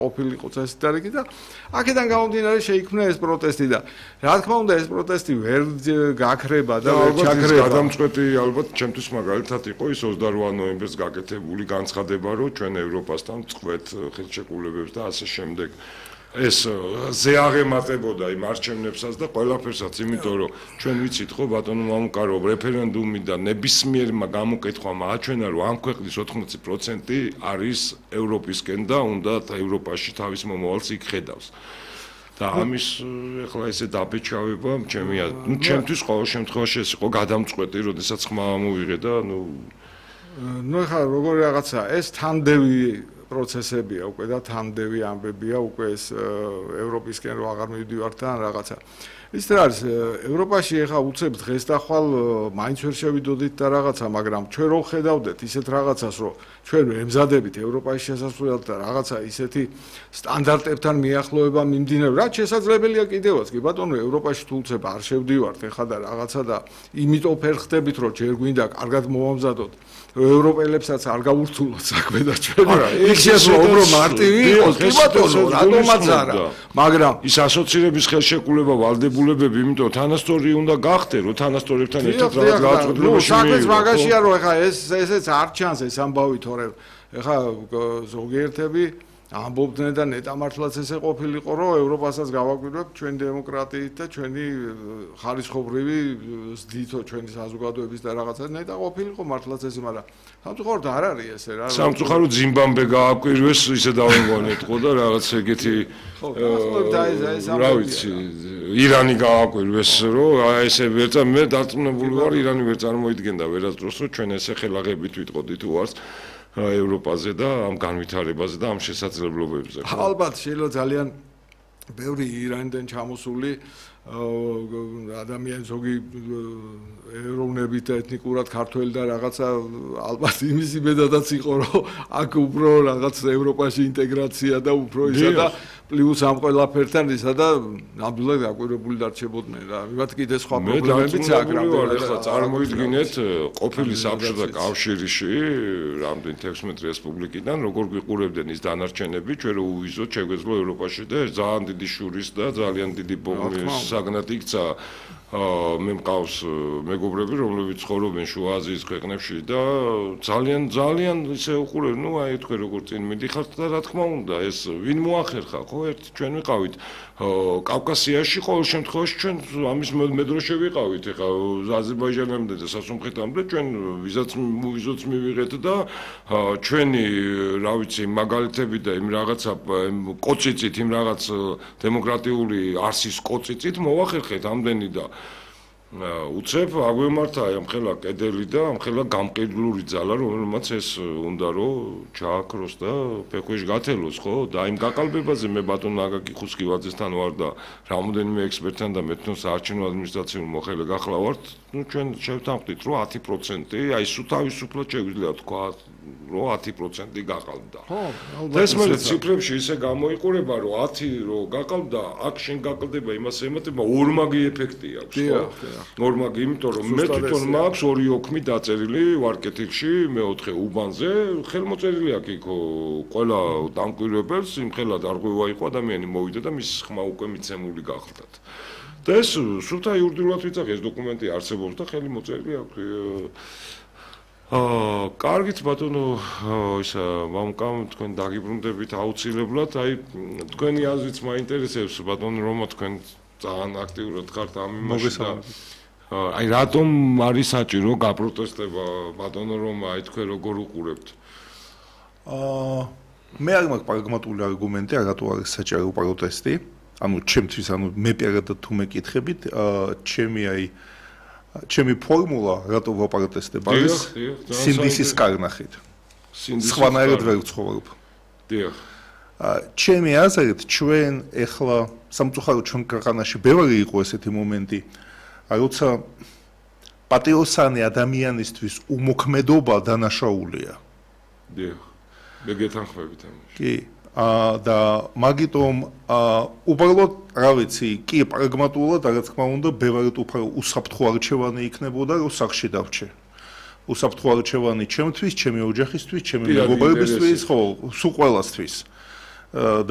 ყოფილიყო წესდარგი და აქედან გამომდინარე შეიქმნა ეს პროტესტი და რა თქმა უნდა ეს პროტესტი ვერ გაქრება და ვერ ჩაქრება. გადამწყვეტი ალბათ ჩემთვის მაგალითად იყო ის 28 ნოემბერს გაკეთებული განცხადება, რომ ჩვენ ევროპასთან წყვეთ ხელშეკრულებებს და ასე შემდეგ. ეს ზეაღემატებოდა იმ არჩევნებსაც და ყველაფერსაც, იმიტომ რომ ჩვენ ვიცით ხო ბატონო მამუკაროვ რეფერენდუმი და ნებისმიერმა გამოკითხვამ აჩვენა რომ ამ ქვეყნის 80% არის ევროპისკენ და უნდა ევროპაში თავის მომავალს იქ ხედავს. და ამის ეხლა ესე დაბეჭავება ჩემთვის ყოველ შემთხვევაში ეს იყო გადამწყვეტი, როდესაც ხმა მოვიღე და ეხლა როგორი რაღაცა ეს თანდევი პროცესებია უკვე და თანდევი ამბებია უკვე ეს ევროპისკენ რო აღარ მივდივართ და რაღაცა. ის რა არის ევროპაში ეხლა უცებ დღეს და ხვალ მაინც ვერ შევიდოდით და რაღაცა, მაგრამ ჩვენ რო ხედავდეთ ისეთ რაღაცას, რომ ჩვენ ემზადებით ევროპაში შესასვლელად და რაღაცა ისეთი სტანდარტებთან მიახლოება მიმდინარეობს, რაც შესაძლებელია კიდევაც. კი ბატონო, ევროპაში თუ უცებ არ შევდივართ ეხლა და რაღაცა და იმიტომ ფერხდებით, რომ ჯერ გვინდა კარგად მოვამზადოთ. ევროპელებსაც არ გავურთულოთ საქმე და ჩვენ იქ შესვლა უფრო მარტივი იყოს, კი ბატონო, რატომაც არა. მაგრამ ის ასოცირების ხელშეკრულება ვალდებულებები, იმიტომ თანასწორი უნდა გახდე, რომ თანასწორებთან ერთად რაღაც გააწყობლებაში საქმეც მაგაშია, რომ ეხლა ესეც არ ჩანს ეს ამბავი, თორემ ეხლა ზოგიერთები ამბობდნენ და ნეტა მართლაც ესე ყოფილიყო, რომ ევროპასაც გავაკვირვებთ ჩვენ დემოკრატიით და ჩვენი ხარისხობრივი ზდითო ჩვენი საზოგადოების და რაღაცა ნეტა ყოფილიყო მართლაც ესე, მაგრამ სამწუხაროდ არ არის ესე რა. სამწუხაროდ ზიმბაბვე გააკვირვეს, ისე დავინგონეთყო და რაღაც ეგეთი რა ვიცი, ირანი გააკვირვეს, რომ ესე ვერცა მე დარწმუნებული ვარ, ირანი ვერ წარმოიდგენდა ვერასდროს, რომ ჩვენ ესე ხელაღებით ვიტყოდით უარს ევროპაზე და ამ განვითარებაზე და ამ შესაძლებლობებზე. ალბათ შეიძლება ძალიან ბევრი ირანიდან ჩამოსული ადამიანი ზოგი ეროვნებით და ეთნიკურად ქართველი და რაღაცა ალბათ იმის იმედადაც იყო, რომ აქ უფრო რაღაც ევროპაში ინტეგრაცია და უფრო ისა და პლუს ამ ყველაფერთან ისა და ნამდვილად გაკვირვებული დარჩებოდნენ რა. მივათ კიდე სხვა პრობლემებიც აქ რამდენად ახლა წარმოიდგინეთ ყოფილი საბჭოთა კავშირში რამდენი 16 რესპუბლიკიდან როგორ გვიყურებდნენ ის დანარჩენები, ჩვენ რო უვიზოთ შეგვეძლო ევროპაში და ძალიან დიდი შურის და ძალიან დიდი საგნად იქცა. მე მყავს მეგობრები, რომლებიც ცხოვრობენ შუა აზიის ქვეყნებში და ძალიან ისე უყურებენ, ნუ აი თქვენ როგორ წინ მიდიხართ და რა თქმა უნდა, ეს ვინ მოახერხა, ხო, ერთ ჩვენ ვიყავით კავკასიაში, ყოველ შემთხვევაში ჩვენ ამის მედროშე ვიყავით, ეხლა აზერბაიჯანამდე და სასუნთქეთამდე ჩვენ ვიზოც მივიღეთ და ჩვენი, რა ვიცი, მაგალითები და იმ რაღაცა კოწიწით, იმ რაღაც დემოკრატიული არსის კოწიწით მოვახერხეთ ამდენი და უცებ აგვემართა ამხელა კედელი და ამხელა გამყიდვლური ძალა, რომელმაც ეს უნდა რომ ჩააქროს და ფექვეშ გათელოს, ხო? და იმ გაყალბებაზე მე ბატონ აგაკი ხუსკივაძესთან ვარ და რამოდენიმე ექსპერტთან და მეთნო საარჩევნო ადმინისტრაციულ მოხელე გახლავართ. ნუ ჩვენ შევთანხმდით, რომ 10%, აი სულ თავისუფლად შეგვიძლია თქვა, რომ 10% გაყალბდა. ეს მე ციფრებში ისე გამოიყურება, რომ 10 რო გაყალბდა, აქ შენ გაყალბდება იმას ემატება ორმაგი ეფექტი აქვს, ხო? ნორმაგი, იმიტომ რომ მე თვითონ მაქვს 2 ოქმი დაწერილი ვარკეთილში, მე-4 უბანზე, ხელმოწერილი აქვს იქ ყველა დამკვირვებელს, იმხელა დარღვევა იყო ადამიანი მოვიდა და მის ხმა უკვე მიცემული გახლდათ. და ეს სულთა იურიდიულად ვიცახი, ეს დოკუმენტი არსებობს და ხელი მოწერილი აქვს. კარგით ბატონო, ისა მამკამ თქვენ დაგიბრუნდებით აუცილებლად, აი თქვენი აზრიც მაინტერესებს ბატონო რომა თქვენ ძალიან აქტიურად ხართ ამ იმაში და აი რატომ არის საჭირო გაპროტესტება ბატონო რომ აი თქვენ როგორ უყურებთ? მე არ მაქვს პრაგმატული არგუმენტი, რატო არის საჭირო პროტესტი. ანუ ჩემთვის, ანუ მე პირადად თუ მეკითხებით, ჩემი ფორმულა რატო ვაპროტესტებ არის სინდისის კარნახით. სხვანაირად ვერ ვცხოვრობ. დიახ. ჩემი აზრით, ჩვენ ეხლა სამწუხაროდ ჩვენ ქვეყანაში ბევრი იყო ესეთი მომენტი, როცა პატიოსანი ადამიანისთვის უმოქმედობა დანაშაულია. დიახ. მე გეთანხმებით ამაში. კი. და მაგიტომ უბრალოდ რა ვიცი, კი პრაგმატულად, რა თქმა უნდა, ბევრად უფრო უსაფრთხო არჩევანი იქნებოდა, რომ სახში დავრჩე. უსაფრთხო არჩევანი ჩემთვის, ჩემი ოჯახისთვის, ჩემი მეგობრებისთვის, ხო, სულ ყველასთვის. და